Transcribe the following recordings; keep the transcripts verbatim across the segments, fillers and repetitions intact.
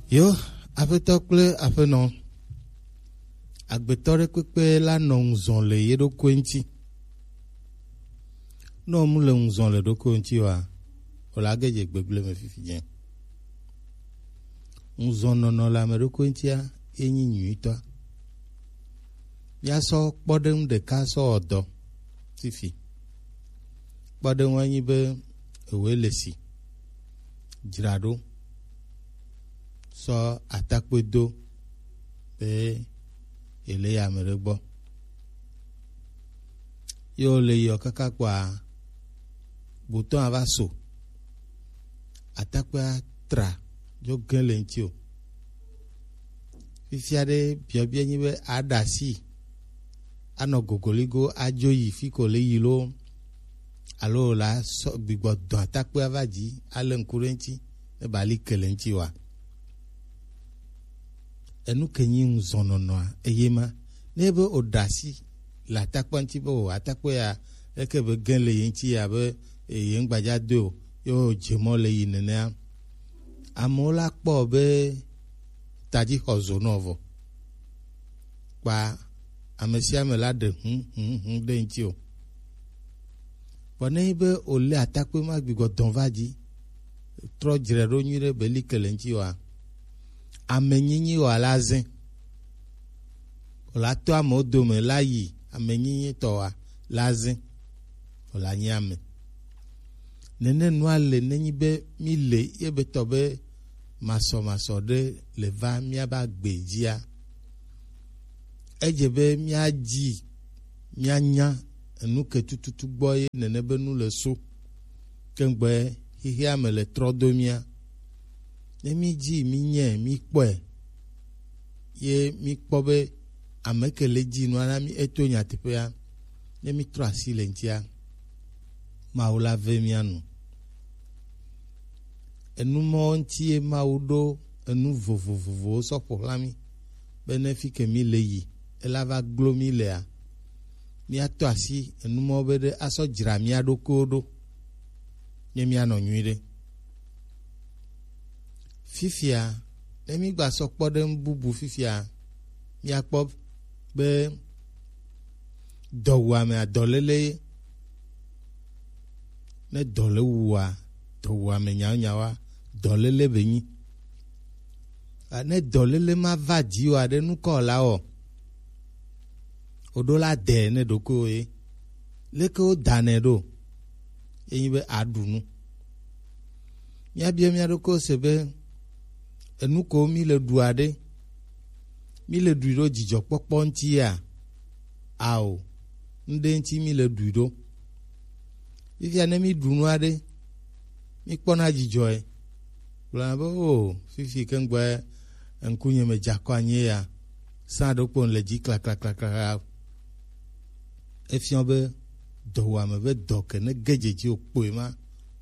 Yo, aƒetɔ kple aƒenɔ, agbetɔ ɖe kpekpe la nɔ ŋuzɔn le ye ɖokui ŋuti. Ne wòmu le ŋuzɔn le ɖokui ŋuti oa, wòle age dze gbegblẽ me fifi dze. Ŋuzɔnnɔnɔ le ame ɖokui ŋutia ye nyi nyuitɔa. Míasɔ kpɔɖeŋu ɖeka sɔ wɔ dɔ fifi. Kpɔɖeŋua nyi be ewoe le si dzra ɖo sɔ atakpui do be yele yi ame ɖe gbɔ. Ye wole yiɔ kaka kpɔa, gbotɔ ava so. Atakpea tra dzo ge le ŋuti o. Fifia ɖe biɔbiɔ nyi be aɖe asi anɔ gogoligo adzo yi fi ko le yi lo, alo la sɔ gbigbɔ dɔn atakpea va dzi ale ŋku ɖe ŋuti ne ba li ke le ŋuti wa. Enu ke nyi ŋuzɔnɔnɔa eye ma. Ne be o ɖe asi le atakpea ŋuti be o atakpea ya eke be ge le ye ŋuti ya be ye ŋgbadza do o, ye o dze mɔ le yi nenea. Amewo la kpɔ be tadzi xɔ zo nɔ vɔ. Kpa ame sia ame la ɖe hũ hũ hũ ɖe ŋuti o. Vɔ ne nyi be wòlé atakpui ma gbigbɔ dɔn va dzi, trɔ dzre ɖo nyuiɖe be li ke le ŋuti oa, ame nyinyi oa la zẽ. Wòla to amewo dome la yi ame nyinyi tɔ oa la zẽ. Wòla nyi ame. Nene nua le nenyi be mi le ye be tɔ be masɔmasɔ ɖe le va miaba gbe dzia. Edze be míadzi míanya enu ke tututu gbɔ ye nene be nu le so. Ke ŋgbe xexea me le trɔ do mía. Ne mídzi mínyɛ míkpɔe ye míkpɔ be ame ke le dzi nua na mí eto nyateƒea, ne mítrɔ asi le ŋutia, Mawu la ve mía nu. Enu mawo ŋuti ye Mawu ɖo enu vovovovowo sɔ ƒo xlã mí, be ne fi ke mí le yi, ela va glo mí lea, míato asi enu mawo be ɖe asɔ dzra mía ɖokuiwo ɖo, ne míanɔ nyuiɖe. Fifia, ne mígba sɔ kpɔ ɖe nu bubu fifia, míakpɔ be dɔwuame adɔlele ye. Ne dɔ le wua, dɔwuame nyaonyaoa, dɔlele be nyi. A, ne dɔlele ma va dzi oa, ɖe nu kɔ la wɔ? Woɖo la dɛ ne ɖokuiwo ye. Leke wodanɛ ɖo? Ye nyi be aɖu nu. Míabiɔ mía ɖokuiwo se be, enu ko mí le ɖua ɖe, mí le ɖui ɖo dzidzɔkpɔkpɔ ŋutia? Ao, ŋɖe ŋuti mí le ɖui ɖo. Fifia ne mí ɖu nua ɖe, mí kpɔna dzidzɔe. Gblɔna be, o, fifi ke ŋgbɔe ŋkunye me dze akɔ anyi ya, sã ɖokpo le dzi klaklaklakla. Efiɔ be dɔwuame be dɔ ke ne ge dzedzi o kpoe ma,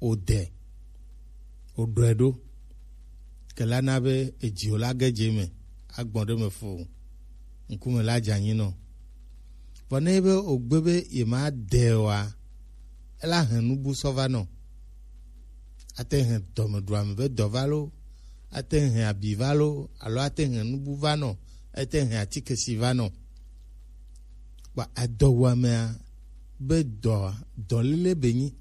o de, o ɖɔe ɖo. Ke la na be edzi o la ge dze me, agbɔn ɖe me fo, ŋkume la dze anyi nɔ. Vɔ ne be o gbe be ye ma de oa, ela hɛn nubu sɔ va nɔ. Ate hɛn dɔmeɖuame be dɔ va lo, ate hɛn abi va lo, alo ate hɛn nubu va nɔ, ate hɛn atikesi va nɔ. Kpa edɔwuamea be dɔ, dɔlele be nyi.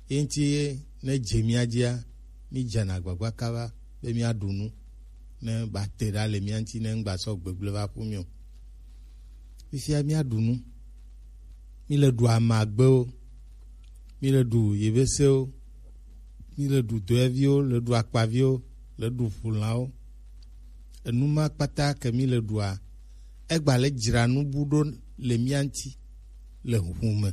Ye ŋuti ye ne dze mía dzia, mí dzena agbagba kaba be míaɖu nu, ne ba te ɖa le mía ŋuti, ne ŋgba sɔ gbegblẽ va ƒu mí o. Fifia míaɖu nu. Mí le ɖu amagbewo, mí le ɖu yebesewo, mí le ɖu doeviwo, le ɖu akpaviwo, le ɖu ʋulãwo. Enu ma kpata ke mí le ɖua, egba le dzra nu bu ɖo le mía ŋuti le ʋu me.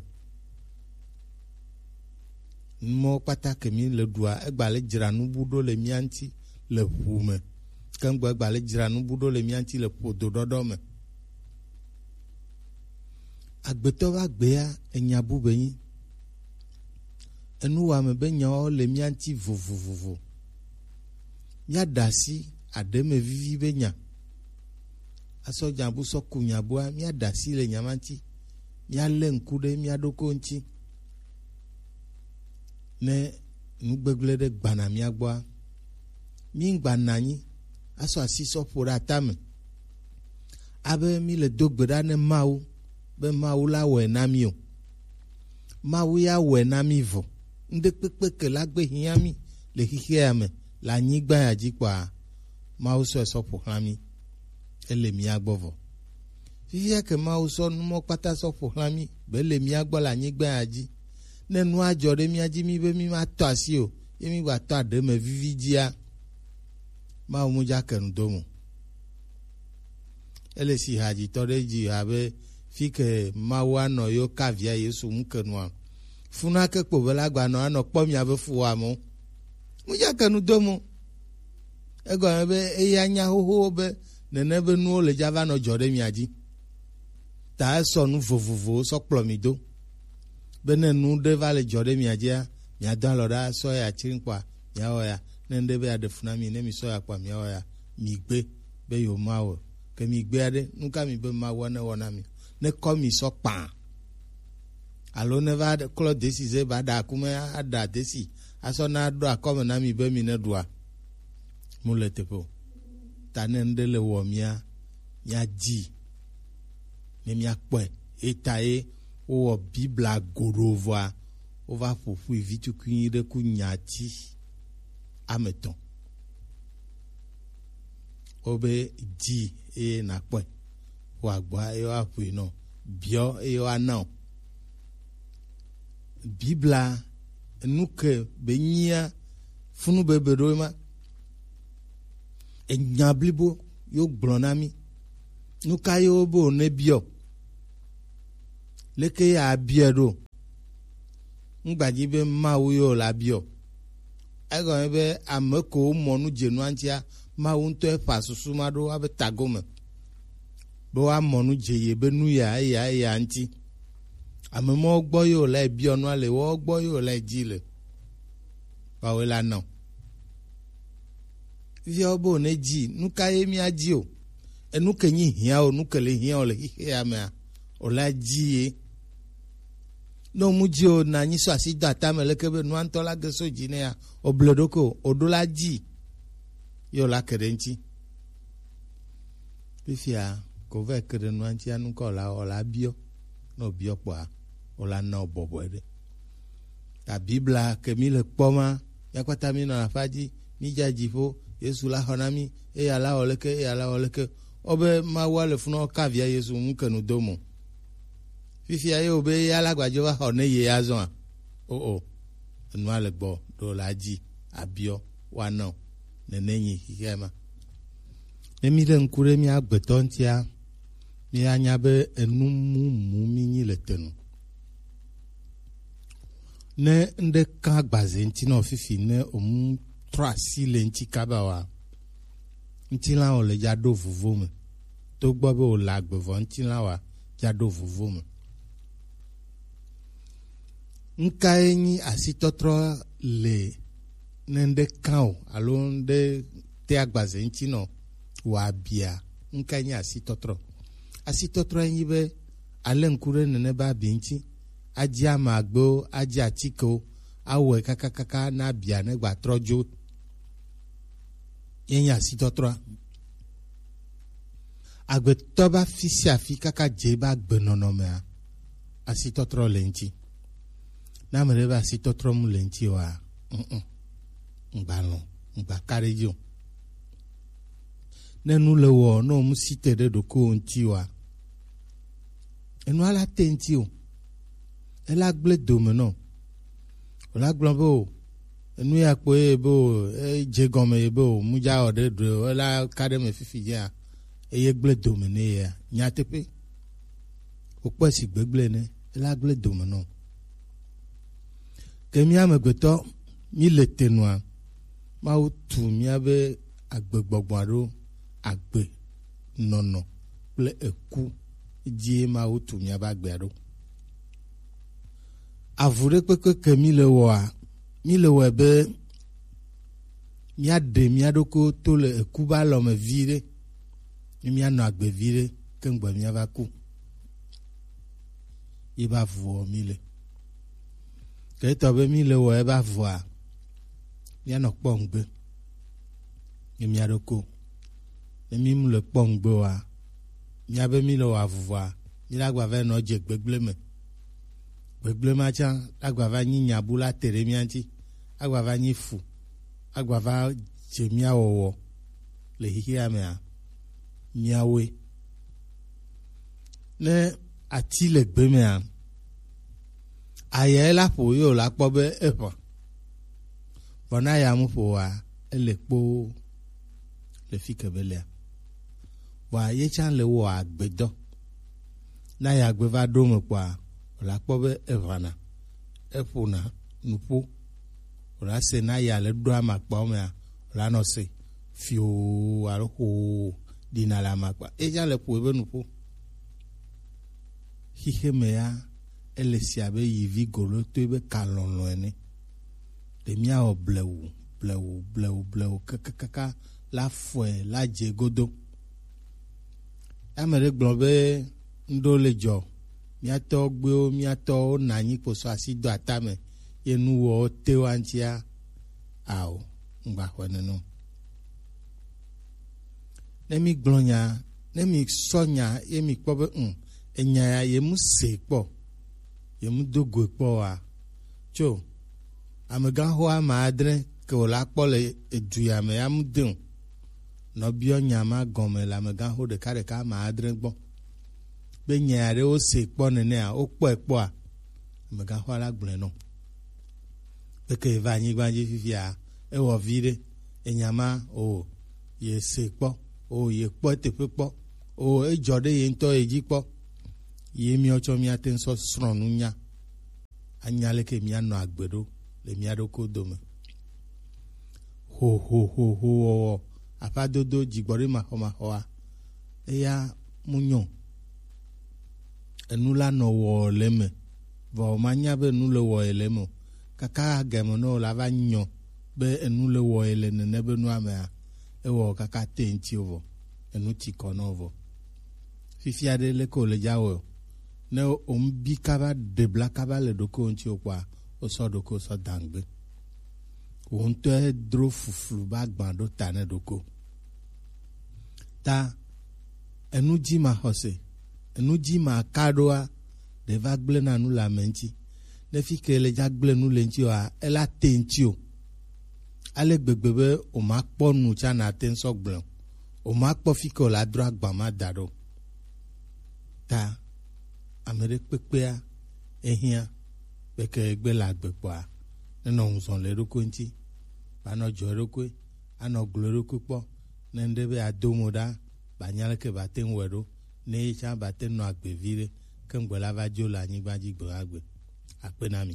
Numɔwo kpata ke mí le ɖua, egba le dzra nu bu ɖo le mía ŋuti le ʋu me. Ke ŋgbe egba le dzra nu bu ɖo le mía ŋuti le ƒodo ɖɔɖɔ me. Agbetɔ be agbea enya bu be nyi. Enuwɔame be nyawo le mía ŋuti vovovovo. Míaɖe asi aɖeme vivi be nya. Asɔ nya bu sɔ ku nya bua, míaɖe asi le nya ma ŋuti. Míalé ŋku ɖe mía ɖokui ŋuti. Ne nu gbegblẽ ɖe gbana mía gbɔa, mí ŋgba nɔ anyi asɔ asi sɔ ƒo ɖe atame. Abe mí le do gbe ɖa ne Mawu be Mawu la wɔe na mí o. Mawu ya wɔe na mí vɔ. Ŋɖe kpekpe ke la gbe hiã mí le xixea me le anyigba ya dzi kpɔa, Mawu sɔe sɔ ƒo xlã mí. Ele mía gbɔ vɔ. Fifia ke Mawu sɔ numɔ kpata sɔ ƒo xlã mí be le mía gbɔ le anyigba ya dzi. Ne nua dzɔ ɖe mía dzi mí be mí ma tɔ asi o, ye mí gba tɔ aɖe me vivi dzia, Mawu mu dza ke nu do mo. Ele si hadzitɔ ɖe dzi abe fi ke Mawu anɔ yo ka via Yesu ŋu ke nua. Funa ke kpo be la gba nɔ anɔ kpɔ mia be fuwa mo. Mu dza ke nu do mo. Egɔme be eya nya xoxo be nene be nuwo le dza va nɔ dzɔ ɖe mia dzi. Ta esɔ nu vovovowo sɔ kplɔ mi do. Be ne nu ɖe va le dzɔ ɖe mia dzia, miado alɔ ɖa sɔ ya tsri kpɔa, miawɔ ya. Ne ŋɖe be aɖe fu na mi, ne mi sɔ ya kpɔa, miawɔ ya. Mi gbe be yewo ma wɔ. Ke mi gbe aɖe, nu ka mi be Mawu ne wɔ na mi? Ne kɔ mi sɔ kpã. Alo ne va ɖe-, klɔ desi ze ba ɖa akume aɖa desi. Asɔ na ɖo akɔme na mi be mi ne ɖua. Mu le teƒe o. Ta ne ŋɖe le wɔ mia, mia dzi. Ne mia kpɔe. Eta ye wowɔ Biblia goɖo vɔa, wova ƒo ƒui vitukui ɖe ku nyati ame etɔ̃. Wobe dzi eye nakpɔe. Ƒo agba eye woaƒoe nɔ. Biɔ eye woana o. Biblia nu ke be nyia funu bebe ɖo ma. Enya blibo yo gblɔ na mí. Nu ka yo be wòne biɔ? Leke ya biɔ ɖo? Ŋgbadzi be Mawu yo la biɔ. Egɔme be ame ko mɔ nu dze nua ŋutia, Mawu ŋutɔ eƒa susu ma ɖo abe tagome. Be woamɔ nu dze ye be nu ya, eya, eya ŋuti. Ame mɔwo gbɔ ye wòle biɔ nua le, woawo gbɔ ye wòle dzi le. Woawoe la nɔ. Viawo be wòne dzi, nu ka ye mía dzi o? Enu ke nyi hiã o, nu ke le hiã o le xixea mea, wòla dzi ye. Ne wòmu dzi o, na nyi sɔ asi do atame leke be nua ŋutɔ la ge so dzi nɛ ya, wòble ɖokui o, wòɖo la dzi. Ye wòla ke ɖe ŋuti. Fifia, ko va ke ɖe nua ŋuti anu kɔ la, wòla biɔ. Ne wòbiɔ kpɔa, wòla na wò bɔbɔe ɖe. Ta Biblia ke mí le kpɔ ma, mía kpata mí nɔ aƒa dzi, mí dza dziƒo, Yesu la xɔ na mí, eya la wɔ leke, eya la wɔ leke. Wo be Mawu le funu ka via Yesu ŋu ke nu do mo. Fifia ye wo be ya la gbadzo va xɔ ne ye azɔa? O o. Enua le gbɔ ɖo la dzi abiɔ wa nɔ. Nene nyi xixia ma. Ne mí ɖe ŋku ɖe mía gbetɔ ŋutia, mía nya be enu mumu mí nyi le te nu. Ne ŋɖe ka agbaze ŋuti nɔ fifi ne omu trɔ asi le ŋuti kaba wa, ŋutilã wòle dza ɖo vovo me. Togbɔ be wòle agbe vɔ ŋutilã wa dza ɖo vovo me. Ŋkae nyi asitɔtrɔ le ne ŋɖe kã o alo ŋɖe te agbaze ŋuti nɔ wɔ abia? Ŋkae nyi asitɔtrɔ? Asitɔtrɔ nyi be ale ŋku ɖe nene be abi ŋuti, adzi ame agbewo, adzi atikewo, awɔe kakakaka na abia ne gba trɔ dzo. Ye nyi asitɔtrɔa. Agbetɔ be afi sia afi kaka dze be agbenɔnɔmea, asitɔtrɔ le ŋuti. Ne ame ɖe be asitɔtrɔ mu le ŋuti oa, mm, mm, ŋgba lɔ̃, ŋgba ka ɖe edzi o. Ne nu le wɔ, ne wòmu si te ɖe ɖokuiwò ŋuti oa, enua la te ŋuti o. Ela gblẽ dome nɔ. Wòla gblɔ be o, enu ya kpo ye be o, edze gɔme ye be o, mu dza wɔ ɖe ɖoe o, ela ka ɖe me fifi dzea, eye gblẽ dome nɛ yea. Nyateƒe. Wòkpɔe si gbegblẽ ene, ela gblẽ dome nɔ. Ke mí amegbetɔ, mí le te nua, Mawu tu míabe agbegbɔgbɔa ɖo agbe nɔnɔ kple eku dzie Mawu tu míabe agbea ɖo. Avu ɖe kpekpe ke mí le wɔa, mí le wɔe be míaɖe mía ɖokuiwo to le eku be alɔ me viɖe, ne míanɔ agbe viɖe, ke ŋgbe míava ku. Ye be avuɔ mí le. Ke etɔ be mí le wɔe be avua, míanɔ kpɔ ŋgbe. Emi aɖoko. Ne mi mu le kpɔ ŋgbe wa, mi abe mi le wa vuvua, mi la gba va nɔ dze gbegble me. Gbegble ma tsa la gba va nyi nyabu la te ɖe mia ŋuti, agba va nyi fu, agba va dze mia wɔwɔ le xexea mea, miawoe. Ne ati le gbe mea, ayae la ƒo ye wòla kpɔ be eʋã. Vɔ ne aya mu ƒo oa, ele kpoo le fi ke be lea. Vɔa ye tsã le wɔ agbedɔ. Ne aya gbe va ɖo me kpɔa, wòla kpɔ be eʋãna, eƒona nuƒo. Wòla se ne aya le ɖo amakpawo mea, wòla nɔ se fioo alo xoo ɖina le amakpa. Ye tsã le ƒo ebe nuƒo. Xixe me ya, ele si abe yivi golotoe be kalɔlɔ ene. Ɖe míawɔ blewu, blewu, blewu, blewu, kakakaka, la fɔe, la dze godo. Ame ɖe gblɔ be, ŋɖo le dzɔ, mía tɔgbuiwo, mía tɔwo na anyi kposɔ asi do atame, ye nuwɔwo te wa ŋutia, ao, ŋgba xɔe nene o. Ne mi gblɔ nya, ne mi sɔ nya, ye mi kpɔ be, ŋ, enya ya, ye mu se kpɔ, ye mu do goe kpɔ wa. Tso, amegãxo ame adre ke wòla kpɔ le edu ya me ya mu de o. Nɔ biɔ nya ma gɔme le amegãxo ɖekaɖeka ame adre gbɔ. Be nya ya ɖe wo se kpɔ nenea, wo kpɔe kpɔa, amegãxoa la gblɔe nɔ. Eke va anyigba dzi fifia, ewɔ vi ɖe, enya ma, o, ye se kpɔ, o, ye kpɔ eteƒe kpɔ, o, edzɔ ɖe ye ŋutɔ ye dzi kpɔ. Ye míawo tsɔ míate ŋu sɔ srɔ̃ nunya, anya leke míanɔ agbe ɖo le mía ɖokuiwo dome. Ho, ho, ho, ho wɔwɔ, aƒadodo, dzigbɔɖi maxɔmaxɔa, eya mu nyɔ. Enu la nɔ wɔ le eme, vɔ manya be enu le wɔ ye le eme o. Kaka game ne wòla va nyɔ be enu le wɔ ye le nene be nua mea, ewɔ kaka te ŋuti o vɔ, enu ti kɔ nɔ vɔ. Fifia ɖe leke wòle dza wɔ o. Ne wòŋbi kaba ɖe bla kaba le ɖokuiwò ŋuti o kpɔa, wosɔ ɖokuiwò sɔ dangbe. Wò ŋutɔe dro fuflu ba gbã ɖo ta ne ɖoko. Ta enu dzi maxɔse, enu dzi maka ɖoa, ɖe va gblẽ na nu le ame ŋuti. Ne fi ke le dza gblẽ nu le ŋuti oa, ela te ŋuti o. Ale gbegbe be wòmakpɔ nu tsã nate ŋu sɔ gblẽ o. Wòmakpɔ fi ke wòla dro agba ma da ɖo. Ta ame ɖe kpekpea, ehiã, kpeke gbe le agbe kpɔa, nenɔ ŋuzɔ le eɖokui ŋuti, va nɔ dzɔ eɖokui, anɔ glo eɖokui kpɔ, ne ŋɖe be ado mo ɖa, ba nya leke ba te ŋu wɛ ɖo, ne ye tsã ba te nɔ agbe vi ɖe, ke ŋgbe la va dzo le anyigba dzi gbe ma gbe. Akpe na mi.